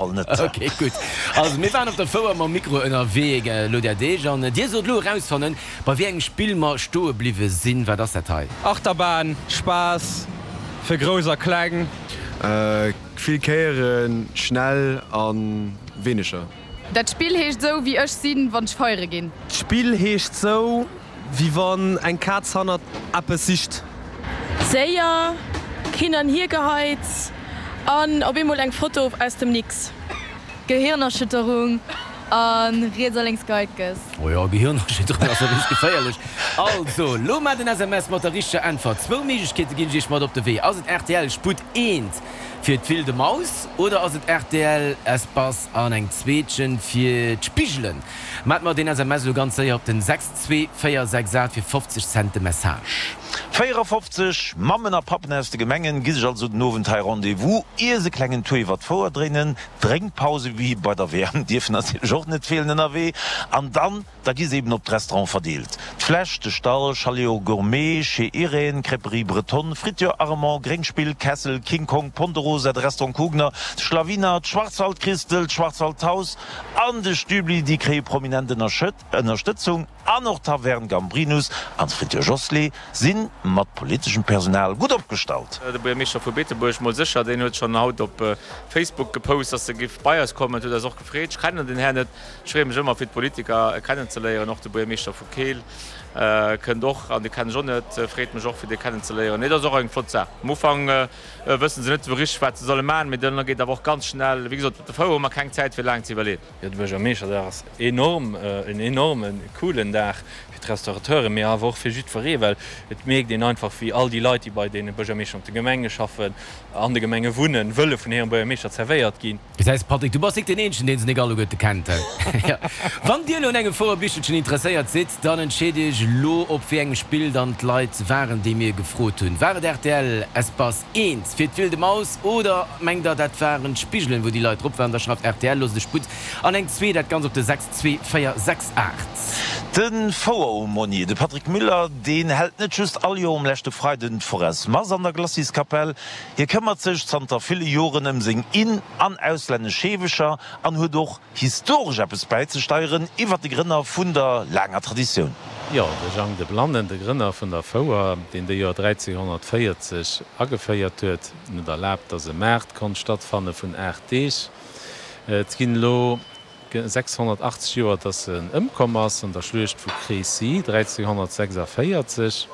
Fall net. Ok, gutt. Also mir waren op der Fouer mam Mikro ënnerwee elo där Deeg an dir sollt elo erausfannen, bei wéi engem Spill mer stoe bliwwe sinn. Wat ass dat hei? Achterbahn, Spaass fir Grouss a Kleng. Vill Kéieren, schnell a wéineger. Dat Spill heescht sou wéi ech sinn, wann ech feiere ginn. D'Spill heescht sou wéi wann eng Kaz hannert eppes sicht. Séier, hin an hier geheits an op eemol eng Foto aus dem Nix. Gehirnerschütterung a riets a lénks Geitges. Oh jo, Gehirnerschütterung ass jo richteg geféierlech. Also, lo maacht en SMS mat der richteger Äntwert. Zwou Méiglechkeete ginn ech iech mat op de Wee. Ass et rtl Sputt eent fir d'Wilde Maus oder ass et rtl Espace an eng Zweetchen fir d'Spigelen? Maacht mer deen SMS elo ganz séier op den 62468 fir 50 Cent de Message. 54 Mammen a Pappen aus de Gemengen gi sech also den Owend hei Rendez-vous, ier se klengen Tour iwwer d'Fouer dréinen. Drénkpause wéi bei der WM dierfen natierlech och net feelen ënnerwee. An dann, da gi se eben op d'Restaurante verdeelt. D'Fläsch, de Stall, Chalet au Gourmet, Chez Irène, Crêperie Bretonne, Friture Armand, Gréngspill, Kessel, King Kong, Ponderosa, de Restaurant Kugner, de Schlawiner, d'Schwarzwaldchristl, d'Schwarzwaldhaus an de Stübli, déi kréie prominent Ënnerstëtzung. An och d'Taverne Gambrinus an d'Friture Josslé si mat politeschem Personal gutt opgestallt. De Buergermeeschter vu Beetebuerg mol sécher, deen huet schonn haut op Facebook gepost, dass e giff bei eis kommen. Et huet eis och gefreet. Ech kennen den Här net. Ech freeë mech ëmmer fir d'Politiker kennenzeléieren. Och de Buergermeeschter vu Keel kënnt och, an dee kennen ech och net. Freet mech och fir dee kennenzeléieren. Nee, dat ass och eng flott Saach. Am Ufank wësse se net esou richteg wat se solle maachen, mee dann geet awer och ganz schnell. Wéi gesot, op der Fouer hu mer keng Zäit fir laang ze iwwerleeën. Jo, de Buergermeeschterdag ass enorm, en enorme coolen Dag fir d'Restaurateuren, mee awer och fir jiddweree, well et mierkt een einfach, wéi all déi Leit, déi bei deene Buergermeeschter an de Gemenge schaffen, an de Gemenge wunnen, wëlle vun hirem Buergermeeschter zerwéiert ginn. Gesäis Patrick, du bass nik deen eenzegen deen se nik alleguerte kennt. Wann dir elo un engem Fouerbichelchen interesséiert sidd, dann entscheet iech elo op wéi engem Spill dann d'Leit waren déi mir gefrot hunn. War et rtl Espace 1 fir d'Wilde Maus oder mengt der dat waren d'Spigelen wou déi Leit drop waren? Da schreift rtl, loosst e Sputt an eng zwee, dat Ganzt op de 62468. De Foueraumônier, de Patrick Müller, deen hält net just all Joer um leschte Freiden d'Foresmass an der Glaciskapell, hie këmmert sech zanter ville Joren ëm seng in an auslännesch Heewecher an huet och historesch eppes bäizesteieren iwwer de Grënner vun der laanger Traditioun. Jo, de Jang de Blannen, de Grënner vun der Fouer, deen déi Joer 1340 ageféiert huet, en huet erlaabt, datt e Maart konnt stattfanne vun 8 Deeg. Et ginn elo 680 Joer, datt en ëmkomm ass an der Schluecht vu Crécy 1346.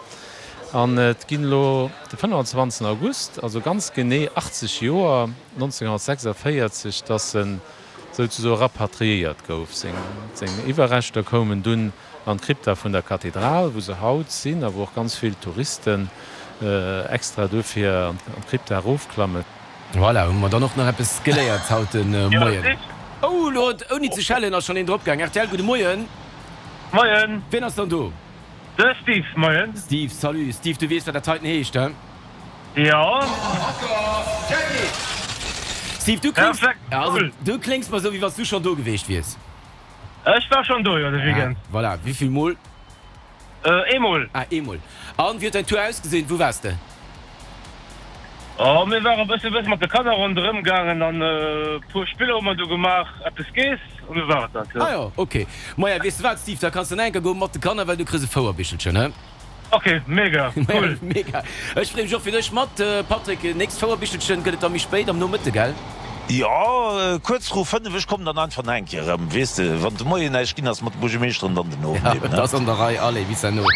An et ginn elo de 25 August, also ganz genee 80 Joer, 1946, datt en souzesoe rapatriéiert gouf. Seng Iwwerreschter koumen dunn an d'Krypta vun der Kathedral, wou se haut sinn a wou och ganz vill Touristen extra dofir an d'Krypta erofklammen. Voilà, hu mer dann och nach eppes geléiert haut de Moien. Oh, elo huet, ouni ze schellen, ass schonn een drop gaang. Rtl, gudde Moien. Moien. Wien ass dann do? De Steve, moien. Steve, salut. Steve, du weess, wat dat heiten heescht, he? Jo. Steve, du kléngs, also, du kléngs mer esou, wéi wann s du schonn do geweecht wiers. Ech war schonn do, jo, de Weekend. Ah, voilà. Wéi vill Mol? Eemol. Ah, eemol. An, wéi huet däin Tour ausgesinn? Wou waars de? Oh, mir ware bësse bësse mat de Kanner ronderëm gaangen an e puer Spiller hu mer do gemaach, eppes geess an du war et dat, jo. Ah jo, ok. Maja, weess de wat, Steve, da kanns de nach eng Kéier goen mat de Kanner, well du kriss e Fouerbichelchen, he? Ok, mega, cool. Mega. Ech freeë mech och fir dech mat, Patrick. Nächst Fouerbichelchen gëtt et da méi spéit am Nomëtte, gell? Jo, kuerz vru 5. Ech kommen dann einfach nach eng Kéier erëm, weess de, wann de Moien näischt ginn ass mat de Buergermeeschteren, dann den Owend Ja, eben, et ne? ass an der Rei. Allez, bis herno.